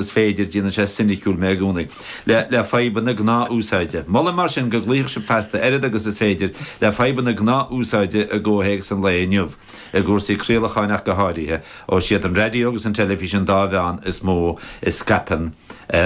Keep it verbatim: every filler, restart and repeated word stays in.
is féidir déanann sé soiniciúil mé i gcónaí le le fadhbanna gnáthúsáide. Molaim mar sin go gcloífeadh sibh feasta oiread agus is féidir le fadhbanna gnáthúsáide i gcomhthéacs an lae inniu, i gcúrsaí craolacháin ach go háirithe, ó siad an raidió agus an teilifís an dá mheán is mó a scaipeann